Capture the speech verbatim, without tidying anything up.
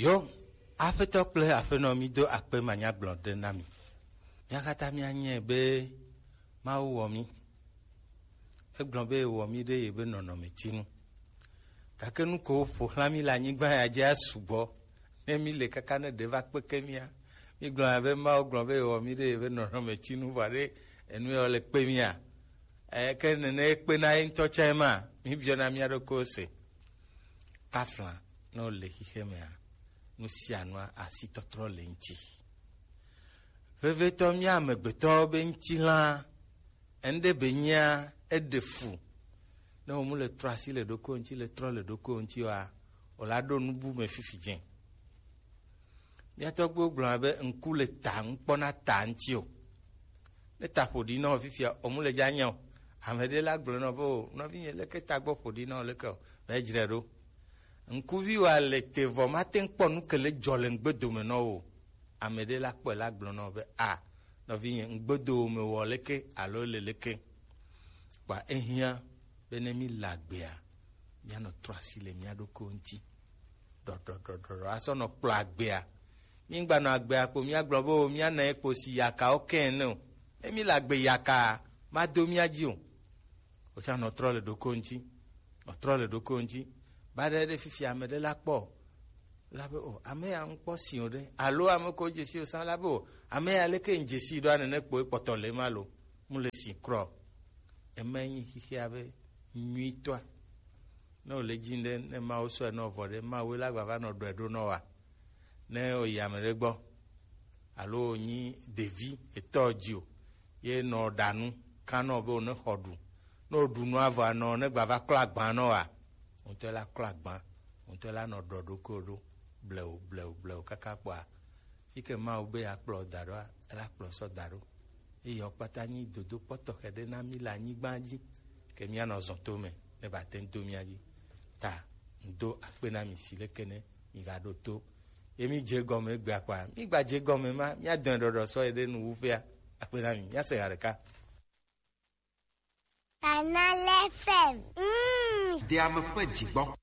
Yo, Aƒetɔ kple Aƒenɔ, mi do akpe manyagblɔ ɖe na mi. Mía katã míanyae be Mawu wɔ mí. Egblɔ be yewɔ mí ɖe yebe nɔnɔmetinu. Gake nu ko ƒo xlã mí le anyigba ya dzia sugbɔ. Ne mí le kaka ne ɖe va kpeke mía, mí gblɔna be Mawu gblɔ be yewɔ mí ɖe yebe nɔnɔmetinu, vɔ ɖe enu ya le kpe mía. Eke nene ekpena ye ŋutɔ tsã ma, mí biɔna mía ɖokuiwo se. Tafla, ne wole xixe mea, nu sia nua asitɔtrɔ le ŋuti. Vevitɔ mía amegbetɔwo be ŋutilã, enuɖe be nyia eɖe fu. Ne wo mu le trɔ asi le ɖokuiwo ŋuti, le trɔ le ɖokuiwo ŋuti oa, o la ɖo nubu me fifi dze. Mía tɔgbuiwo gblɔna be ŋku le ta, ŋkpɔna ta ŋuti o. Ne ta ƒo ɖi nɔ fifia, o mu le dza nya o. Ame ɖe la gblɔ nɔ be o, nɔvinye, leke ta gbɔ ƒo ɖi nɔ leke o, va dzre ɖo. Ŋkuvi wa le te vɔ mate ŋu kpɔ nu ke le dzɔ le ŋgbedo me nɔ o. Ame ɖe la kpɔe la gblɔ nɔ be a, nɔvinye, ŋgbedo me wɔ leke alo le leke. Kpa ehiã be ne mí le agbea, míanɔ trɔ asi le mía ɖokuiwo ŋuti. Ɖɔɖɔɖɔɖɔɖɔ asɔ nɔ kplɔ agbea. Mígbanɔ agbea kpo míagblɔ be o, míana ye kpo si yakawo kɛ ene o. Ne mí le agbe yaka, mado mía dzi o. Wotsã nɔ trɔ le ɖokuiwo ŋuti. Nɔ trɔ le ɖokuiwo ŋuti. Ba ɖe ɖe fifi ame ɖe la kpɔ o. La be o, ame ya ŋkpɔ si o ɖe. Alo ame ko dzesi o sã la be o, ame ya leke ŋdzesi ɖo anene kpo ekpɔtɔ le ma lo. Mu le si krɔ. Eme nyi xixia be nyuitɔa. Ne wòle dzi ɖe, ne Mawu sɔe nɔ vɔ ɖe, Mawu la gba va nɔ ɖɔe ɖo nɔ wa. Ne wòyi ame ɖe gbɔ, alo wònyi ɖevi etɔ dzi o, ye nɔ ɖa nu, kan nɔ be wòne xɔ ɖu. Ne wòɖu nua vɔ anɔ, ne gba va klɔ agba nɔ wa, ŋutɔ la klɔ agba, ŋutɔ la nɔ ɖɔ ɖokuiwo ɖo, blewu, blewu, blewu, kaka kpɔa, fi ke Mawu be yeakplɔ da ɖoa, ela kplɔ sɔ da ɖo. Eye wo kpata nyi dodokpɔ tɔxɛ ɖe na mí le anyigba dzi, ke míanɔ zɔn to me ne ba te ŋu do mía dzi. Ta ŋdo akpe na mi si leke ne mi ga ɖo to. Ye mi dze gɔme egbea kɔa, mi gba dze gɔme ma, mía dɔe ɖɔɖɔ sɔ yi ɖe nu wu ƒea. Akpe na mi, mía se ha ɖeka. Canal F M. Mm. Deame ƒe dzigbɔ.